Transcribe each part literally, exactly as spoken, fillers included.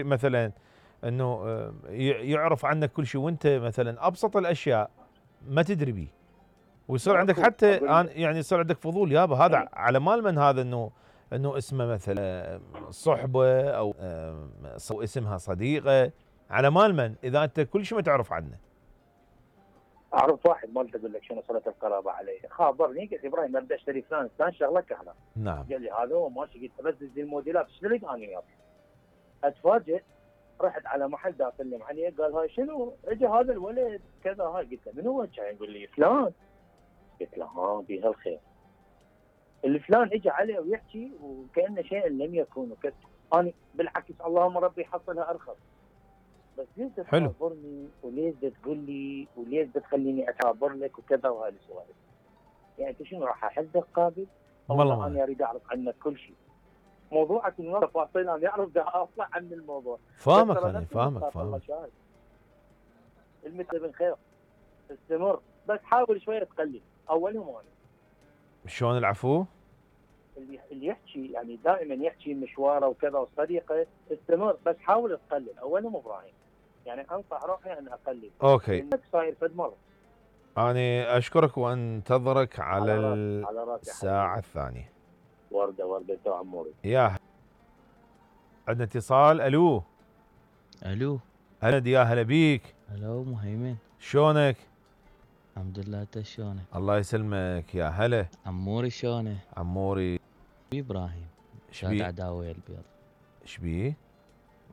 اللي مثلا انه آه، ي- يعرف عنك كل شيء وانت مثلا ابسط الاشياء ما تدري بيه، ويصير عندك ماكو حتى اقول آن- لك. يعني يصير عندك فضول يابا هذا إيه. على مال من هذا، انه انه اسمه مثلا صحبه او آه، أو اسمها صديقه، على مال من اذا انت كل شيء ما تعرف عنه. اعرف واحد ما اقول لك شنو صله القرابه علي، خابرني قلت ابراهيم ابدا اشتري فلان فلان شغله كهرباء. نعم. قال لي هذا هو ماشي، قلت بس دز الموديلات ايش تريد انا وياك؟ اتفاجئ رحت على محل دا اسلم عليه، قال هاي شنو؟ اجى هذا الولد كذا، هاي قلت له من هو؟ كان يقول لي فلان. قلت له ها بها الخير. الفلان اجى عليه ويحكي وكانه شيء لم يكن، وكذا. انا بالعكس اللهم ربي يحصلها ارخص. بس ليش حلو. تخابرني وليش تقول لي وليش تخليني اكابر لك وكذا وهاي السوالف؟ يعني انت شنو راح احدك قابل؟ والله والله ما انا اريد اعرف عنك كل شيء. موضوعك من تفاصيل انا اعرف دا اطلع عن الموضوع. فاهمك بس ترى انا نفس فاهمك النقاط الله فاهمك. شاهد. المثل بالخير استمر، بس حاول شويه تقلل. اولهم انا شلون العفو؟ اللي اللي يحكي يعني دائما يحكي مشواره وكذا وصديقه، استمر بس حاول تقلل. اولهم ابراهيم يعني انصح روحي ان اقلل. اوكي. لانك صاير فد مره. أنا أشكرك وأنتظرك على على راسي على راسي الساعة حبيبي. الثانية. ورده ورده تو عموري. يا عندنا اتصال. ألو. الو. هلا يا هلا بيك. الو مهيمن. شلونك؟ الحمد لله، انت شلونك؟ الله يسلمك يا هلا. عموري شلونه؟ عموري. ابراهيم شاد شبيه؟ عداوي البيض. شبيه؟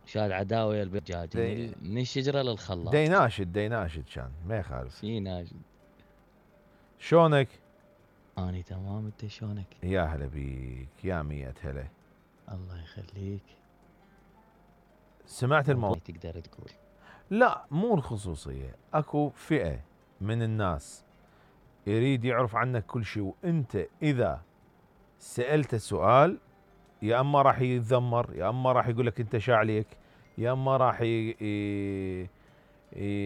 شاد عداوي البيض جاج دي... من الشجره للخلاط. ديناشد ديناشد كان ما يخالف. شي ناجد. شلونك؟ اني تمام، انت شلونك؟ يا هلا بيك يا مية هلا. الله يخليك. سمعت الموضوع؟ تقدر تقول لا مو الخصوصية، اكو فئة من الناس يريد يعرف عنك كل شيء، وانت اذا سألته سؤال يا اما راح يتذمر، يا اما راح يقول لك انت شاعليك، يا اما راح ي... ي...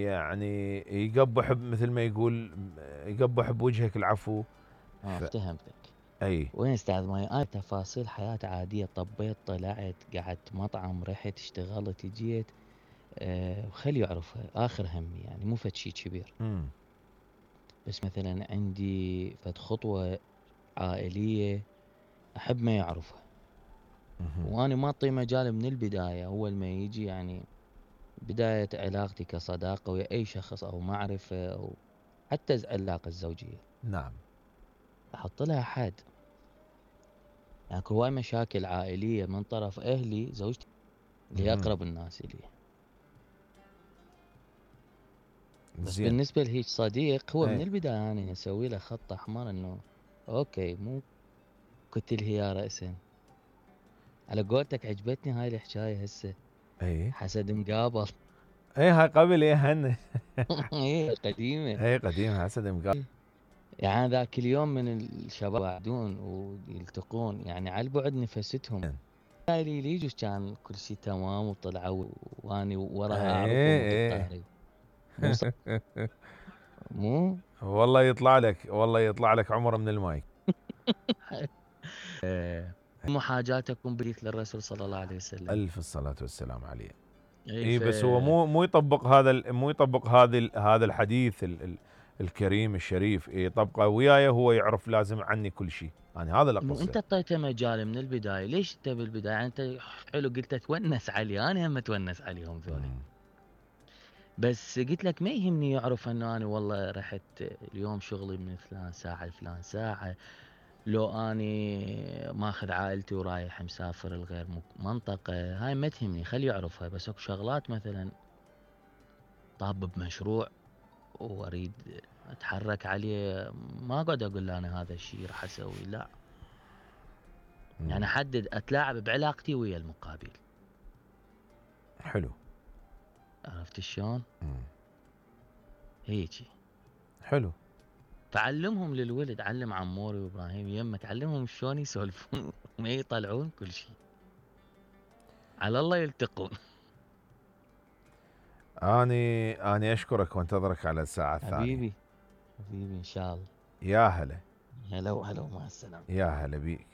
يعني يقبح مثل ما يقول يقبح بوجهك العفو. اه ف... افتهمتك. اي وين استاذ ماي؟ انا تفاصيل حياة عادية، طبيت طلعت قعدت مطعم رحت اشتغلت جيت، أه خلي يعرفها اخر همي، يعني مو فد شي كبير. امم بس مثلا عندي فد خطوة عائلية احب ما يعرفها، وانا ما اعطي مجال من البداية. اول ما يجي يعني بداية علاقتي كصداقة ويا اي شخص او معرفة او حتى العلاقة الزوجية، نعم احط لها حد. يعني اكو هواي مشاكل عائلية من طرف اهلي زوجتي اللي هي اقرب الناس الي. بس زين. بالنسبة لهيج صديق هو ايه. من البداية انا اسوي له خط احمر انه اوكي مو قتل هي رأسا. على قولتك عجبتني هاي الحكاية هسه. اي حسد مقابل. اي هاي قبل ايه هن. ايه قديمة. اي قديم حسد مقابل. يعني ذاك اليوم من الشباب يقعدون ويلتقون يعني على البعد نفستهم. لي ليجوش كان كل شيء تمام وطلعوا واني وراها اعرفهم ايه وقطاري. مو ص... مو والله يطلع لك، والله يطلع لك عمر من الماي. مو حاجاتكم بديت للرسول صلى الله عليه وسلم. الف الصلاة والسلام عليه. اي اي ف... بس هو مو مو يطبق هذا ال... مو يطبق هذا ال... هذا الحديث ال... ال... الكريم الشريف، يطبقه وياي هو يعرف لازم عني كل شيء. يعني هذا اللي مو اقصده. انت اعطيته مجال من البدايه، ليش انت بالبدايه يعني انت حلو قلت تونس علي، انا هم اتونس عليهم ذولي. بس قلت لك ما يهمني يعرف انه انا والله رحت اليوم شغلي من فلان ساعه لفلان ساعه، لو اني ماخذ عائلتي ورايح مسافر لغير منطقه، هاي ما تهمني خلي يعرفها. بس اكو شغلات مثلا طاب بمشروع واريد اتحرك عليه، ما اقعد اقول له انا هذا الشيء راح اسوي، لا. مم. يعني احدد اتلاعب بعلاقتي ويا المقابل. حلو. عرفت شلون؟ مم. هيجي. حلو. تعلمهم للولد، علم عموري وابراهيم يمك، علمهم شلون يسولفون ما يطلعون كل شيء. على الله يلتقون. اني اني اشكرك وانتظرك على الساعة الثانية. حبيبي حبيبي ان شاء الله. يا هلا. هلا وهلا ومع السلامة. يا هلا بيك.